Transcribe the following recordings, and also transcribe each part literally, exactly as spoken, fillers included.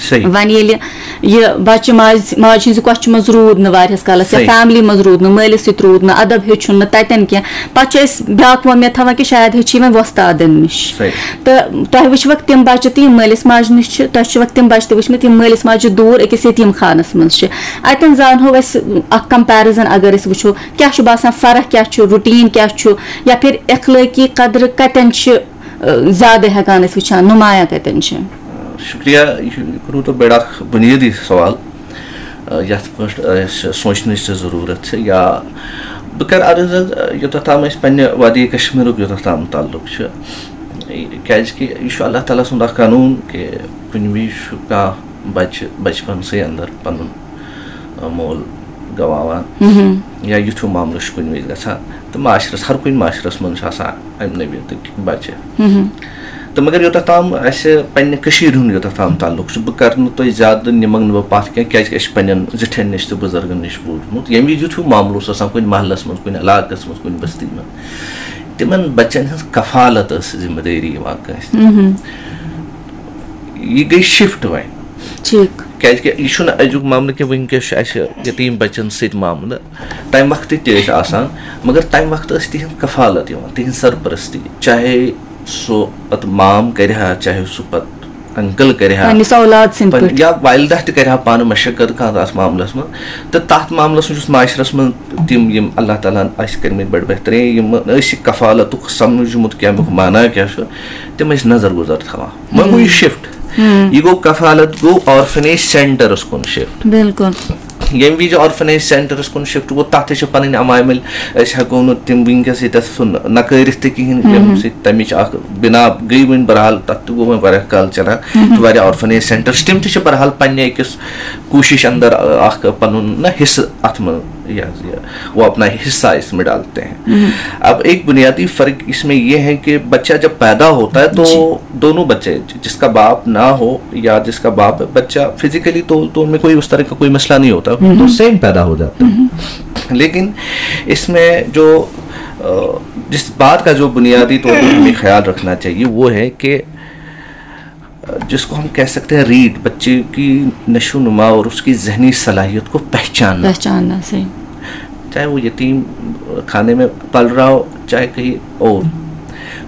صحیح۔ وۄنۍ ییٚلہِ یہِ بَچہٕ ماجہِ، ماجہِ ہٕنٛزِ کۄچھِ منٛز روٗد نہٕ واریاہَس کالَس، یا صحیح۔ فیملی منٛز روٗد نہٕ، مٲلِس سۭتۍ روٗد نہٕ، اَدَب ہیوٚچھُن نہٕ تَتٮ۪ن کینٛہہ، پَتہٕ چھِ أسۍ بیٛاکھ وۄمید تھاوان کہِ شاید ہیٚچھِ یہِ وۄنۍ وۄستادَن نِش۔ صحیح۔ تہٕ تۄہہِ وٕچھوکھ تِم بَچہٕ تہِ یِم مٲلِس ماجہِ نِش چھِ، تۄہہِ چھِوکھ تِم بَچہٕ تہِ وٕچھمٕتۍ یِم مٲلِس ماجہِ دوٗر أکِس یتیٖم خانَس منٛز چھِ۔ اَتٮ۪ن زانہو أسۍ اَکھ کمپیرزن، اگر أسۍ وٕچھو کیٛاہ چھُ باسان، فرق کیٛاہ چھُ، روٹیٖن کیٛاہ چھُ، یا پھر اخلٲقی قدرٕ کَتٮ۪ن چھِ، اَ، زیادٕ ہٮ۪کان أسۍ وٕچھان، نُمایاں کَتٮ۪ن چھِ؟ شُکریہ، یہِ چھُ، یہِ کوٚروٕ تۄہہِ بڑٕ اکھ بُنیٲدی سوال، آ، یتھ پٲٹھۍ، آ، أسۍ سونٛچنٕچ تہِ ضروٗرت چھِ۔ یا بہٕ کرٕ عرض حظ، آ، یوٚتتھ تام أسۍ پننہِ وادی کشمیرُک یوٚتتھ تام تعلق چھُ، کیازِ کہِ یہِ چھُ اللہ تعالیٰ سُنٛد اکھ قانوٗن کہِ کُنہِ وِزِ چھُ کانٛہہ بچہِ بچپنسٕے اندر پنُن، آ، مول گواوان مہم۔ یا یُتھ ہیوٗ معاملہٕ چھُ کُنہِ وِزِ گژھان۔ تہٕ معاشرس، ہر کُنہِ معاشرس منٛز چھِ آسان امہِ نوعیتٕکۍ بچہِ۔ مہم۔ تہٕ مگر یوٚتتھ تام اسہِ پننہِ کٔشیٖرِ ہُنٛد یوٚتتھ تام تعلق چھُ، بہٕ کرٕ نہٕ تۄہہِ زیادٕ، نِمَکھ نہٕ بہٕ پتھ کینٛہہ، کیازِ کہِ اسہِ چھُ پننٮ۪ن زِٹھٮ۪ن نِش تہٕ بُزرگن نِش بوٗزمُت، ییٚمہِ وِزِ یُتھ ہیوٗ معاملہٕ اوس آسان کُنہِ محلس منٛز، کُنہِ علاقس منٛز، کُنہِ بستی منٛز، تِمن بچن ہٕنٛز کفالت ٲس ذمہٕ دٲری یِوان کٲنٛسہِ۔ مہم۔ یہِ گٔے شفٹ وۄنۍ۔ ٹھیٖک۔ کیازِ کہِ یہِ چھُنہٕ أزیُک معاملہٕ کہِ وٕنکیٚس چھُ اسہِ یتیٖم بچن سۭتۍ معاملہٕ۔ تمہِ وقتہٕ تہِ ٲسۍ آسان، مگر تمہِ وقتہٕ ٲسۍ تِہنٛز کفالت یِوان، تِہنٛز سرپرستی، چاہے سُہ پتہٕ مام کرِ ہا، چاہے سُہ پتہٕ انکل کرِ ہا، پننِس اولاد سٕنٛدۍ پن-، پٲٹھۍ۔ یا والدہ تہِ کرِ ہا پانہٕ مشقت کانٛہہ تتھ معاملس منٛز۔ تہٕ تتھ معاملس منٛز یُس معاشرس منٛز تِم، یِم اللہ تعالیٰ ہن اسہِ کٔرمٕتۍ بٔڑۍ بہترین، یِم ٲسۍ یہِ کفالتُک سمجھمُت کہِ امیُک معنی کیٛاہ چھُ، تِم ٲسۍ نظر گُزر تھاوان۔ وۄنۍ گوٚو یہِ ہم۔ شفٹ۔ ہم۔ یہِ گوٚو کفالت گوٚو آرفنیج سینٹرس کُن شفٹ۔ بِلکُل۔ ییٚمہِ وِزِ آرفنیج سینٹرس کُن شفٹ گوٚو، تتھ تہِ چھِ پنٕنۍ عوامل، أسۍ ہٮ۪کو نہٕ تِم وٕنکیٚس ییٚتٮ۪تھ سُہ نکٲرِتھ تہِ کِہیٖنۍ، ییٚمہِ سۭتۍ تمِچ اکھ بنا گٔے وۄنۍ۔ بہرحال تتھ تہِ گوٚو وۄنۍ واریاہ کال چلان، تہٕ واریاہ آرفنیج سینٹرس تِم تہِ چھِ بہرحال پننہِ أکِس کوٗشش اندر اکھ پنُن نہ حصہٕ اتھ منٛز، یہِ حظ یہِ، وہ اپنا حصہ اس میں ڈالتے ہیں۔ اب ایک بنیادی فرق اس میں یہ ہے کہ بچہ جب پیدا ہوتا ہے تو جی۔ دونوں بچے، جس کا باپ نہ ہو یا جس کا باپ ہے، بچہ فزیکلی تو، تو ان میں کوئی اس طرح کا کوئی مسئلہ نہیں ہوتا، تو سیم پیدا ہو جاتا ہے۔ لیکن اس میں جو، آ، جس بات کا جو بنیادی طور پر ہمیں خیال رکھنا چاہیے وہ ہے کہ، آ، جس کو ہم کہہ سکتے ہیں ریڈ، بچے کی نشو نما اور اس کی ذہنی صلاحیت کو پہچاننا۔ پہچاننا، صحیح۔ چاہے وہ یتیم خانے میں پل رہا ہو، چاہے کہیں اور۔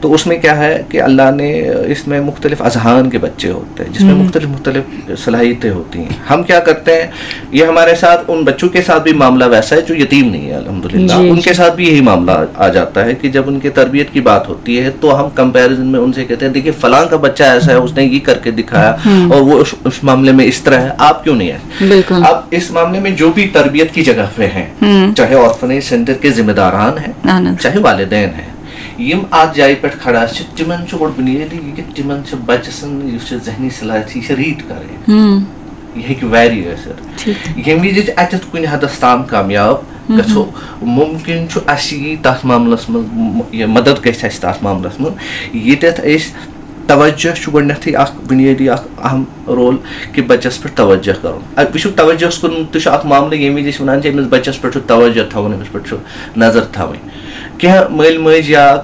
تو اس میں کیا ہے کہ اللہ نے، اس میں مختلف اذہان کے بچے ہوتے ہیں، جس میں مختلف مختلف صلاحیتیں ہوتی ہیں۔ ہم کیا کرتے ہیں، یہ ہمارے ساتھ، ان بچوں کے ساتھ بھی معاملہ ویسا ہے جو یتیم نہیں ہے، الحمدللہ۔ جی، ان کے ساتھ بھی یہی معاملہ آ جاتا ہے کہ جب ان کی تربیت کی بات ہوتی ہے تو ہم کمپیریزن میں ان سے کہتے ہیں، "دیکھیے، فلاں کا بچہ ایسا ہے، اس نے یہ کر کے دکھایا اور وہ اس، اس معاملے میں اس طرح ہے، آپ کیوں نہیں ہے؟" بالکل۔ اب اس معاملے میں جو بھی تربیت کی جگہ پہ ہیں، چاہے آرفنیج سینٹر کے ذمہ داران ہیں، اہن حظ۔ چاہے والدین ہیں، یِم اتھ جایہِ پٮ۪ٹھ کھڑا چھِ، تِمن چھُ گۄڈٕ بُنیٲدی یہِ کہِ تِمن چھِ بچہٕ سٕنٛز یُس یہِ ذہنی صلاحیت چھِ، یہِ چھِ ریڈ کرٕنۍ۔ ہم۔ یہِ ہیٚکہِ ویری ٲسِتھ۔ ٹھیٖک۔ ییٚمہِ وِزِ أسۍ اتٮ۪تھ کُنہِ حدس تام کامیاب گژھو، ممکن چھُ اسہِ یی تتھ معاملس منٛز م-، یہِ مدد گژھِ اسہِ تتھ معاملس منٛز، ییٚتٮ۪تھ أسۍ توجہ چھُ گۄڈٕنیتھٕے اکھ بُنیٲدی اکھ اہم رول کہِ بچس پٮ۪ٹھ توجہ کرُن۔ ا، وٕچھِو، توجہس کُن تہِ چھُ اکھ معاملہٕ، ییٚمہِ وِزِ أسۍ ونان چھِ أمِس بچس پٮ۪ٹھ چھُ توجہ تھاوُن، أمِس پٮ۪ٹھ چھُ نظر تھاوٕنۍ۔ کینٛہہ مٲلۍ مٲج یا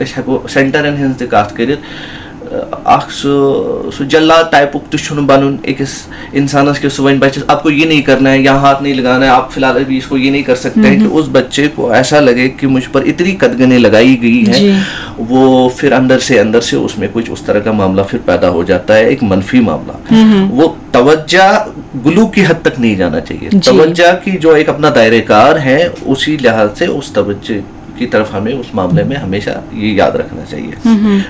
أسۍ ہٮ۪کو سینٹرن ہٕنٛز تہِ کتھ کٔرِتھ، ا، اکھ سُہ، سُہ جلاد ٹایپُک تہِ چھُنہٕ بنُن أکِس انسانس کہِ سُہ وَنہِ بچس، "آپ کو یہ نہیں کرنا ہے، یہاں ہاتھ نہیں لگانا ہے، آپ فی الحال ابھی اس کو یہ نہیں کر سکتے ہیں" کہ اس بچے کو ایسا لگے کہ مجھ پر اتنی قدغنیں لگائی گئی ہیں، جی۔ وہ پھر اندر سے، اندر سے اس میں کچھ اس طرح کا معاملہ پھر پیدا ہو جاتا ہے، ایک منفی معاملہ۔ وہ توجہ گلو کی حد تک نہیں جانا چاہیے۔ جی۔ توجہ کی جو ایک اپنا دائرہ کار ہے، اسی لحاظ سے اس توجہ کی طرف ہمیں اس معاملے میں ہمیشہ یہ یاد رکھنا چاہیے۔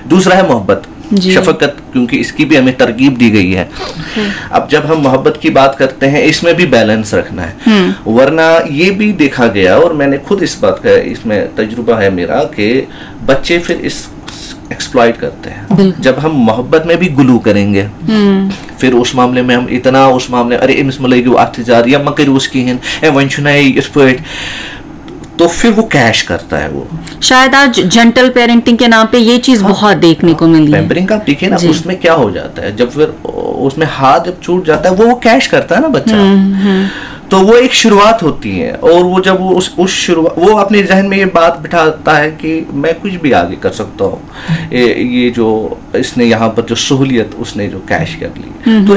دوسرا ہے محبت، جی۔ شفقت، کیونکہ اس کی بھی ہمیں ترغیب دی گئی ہے۔ اب جب ہم محبت کی بات کرتے ہیں، اس میں بھی بیلنس رکھنا ہے، ورنہ یہ بھی دیکھا گیا، اور میں نے خود اس بات کا، اس میں تجربہ ہے میرا، کہ بچے پھر اس ایکسپلائٹ کرتے ہیں۔ بالکل۔ جب ہم محبت میں بھی گلو کریں گے، پھر اس معاملے میں ہم اتنا اس معاملے، "ارے، أمِس مہ لٲگِو اَتھ زیادٕ، یا مہ کٔرِو اس کِہیٖنۍ، اے، وۄنۍ چھُنہ یہِ یِتھ پٲٹھۍ۔" تو پھر وہ کیش کرتا ہے وہ۔ شاید آج جینٹل پیرنٹنگ کے نام پہ یہ چیز بہت دیکھنے کو ملی ہے۔ پیمپرنگ کا دیکھیے نا، جی۔ اس میں کیا ہو جاتا ہے، جب پھر اس میں ہاتھ جب چھوٹ جاتا ہے، وہ، وہ کیش کرتا ہے نا بچہ۔ تو وہ ایک شروعات ہوتی ہے، اور وہ جب وہ اس، اس شروع-، وہ اپنے ذہن میں یہ بات بٹھاتا ہے کہ میں کچھ بھی آگے کر سکتا ہوں۔ اے، یہ جو اس نے یہاں پر جو سہولیت اس نے جو کیش کر لی، تو